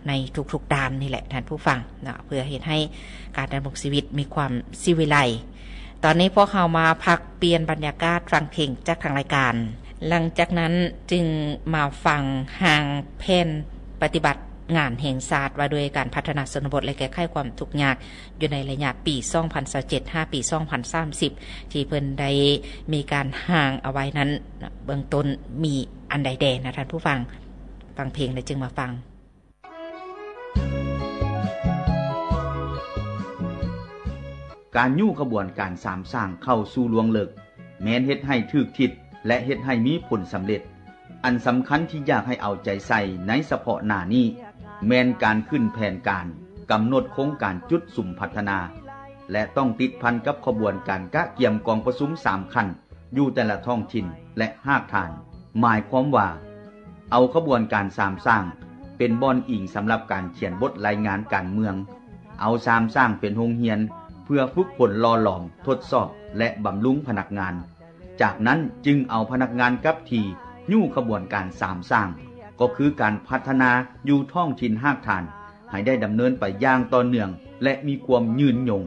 ໃນທຸກໆດ້ານນີ້ແຫຼະທ່ານຜູ້ຟັງເນາະ ເພື່ອເຮັດໃຫ້ການດຳລົງຊີວິດມີຄວາມສີວິໄລ. ຕອນນີ້ພວກເຮົາມາພັກປ່ຽນບັນຍາກາດຟັງເພງຈາກທາງລາຍການ, ຫຼັງຈາກນັ້ນຈຶ່ງມາຟັງຮ່າງແຜນປະຕິບັດງານແຫ່ງຊາດວ່າດ້ວຍການພັດທະນາຊົນນະບົດ ແລະ ແກ້ໄຂຄວາມທຸກຍາກ ຢູ່ໃນໄລຍະປີສອງພັນຊາວເຈັດ ຫາປີສອງພັນສາມສິບ ທີ່ເພິ່ນໄດ້ມີການຮ່າງເອົາໄວ້ນັ້ນ ເບື້ອງຕົ້ນມີອັນໃດແດ່ນະທ່ານຜູ້ຟັງ? ຟັງເພງແລ້ວຈຶ່ງມາຟັງ. ການຍູ້ຂະບວນການສາມສ້າງເຂົ້າສູ່ລວງເລິກ ແມ່ນເຮັດໃຫ້ຖືກທິດ ແລະ ເຮັດໃຫ້ມີຜົນສຳເລັດ. ອັນສຳຄັນທີ່ຢາກໃຫ້ເອົາໃຈໃສ່ໃນສະເພາະໜ້ານີ້ ແມ່ນການຂຶ້ນແຜນການ, ກຳນົດໂຄງການຈຸດສຸມພັດທະນາ ແລະ ຕ້ອງຕິດພັນກັບຂະບວນການກະກຽມກອງປະຊຸມສາມຂັ້ນ ຢູ່ແຕ່ລະທ້ອງຖິ່ນ ແລະ ຮາກຖານ. ໝາຍຄວາມວ່າ ເອົາຂະບວນການສາມສ້າງ ເປັນບ່ອນອີງສຳລັບການຂຽນບົດລາຍງານການເມືອງ, ເອົາສາມສ້າງເປັນໂຮງຮຽນ ເພື່ອຝຶກຝົນຫຼໍ່ຫຼອມ, ທົດສອບ ແລະ ບຳລຸງພະນັກງານ. ຈາກນັ້ນຈຶ່ງເອົາພະນັກງານກັບທີ່ຍູ້ຂະບວນການສາມສ້າງ ກໍຄືການພັດທະນາຢູ່ທ້ອງຖິ່ນຮາກຖານ ໃຫ້ໄດ້ດຳເນີນໄປຢ່າງຕໍ່ເນື່ອງ ແລະ ມີຄວາມຍືນຍົງ.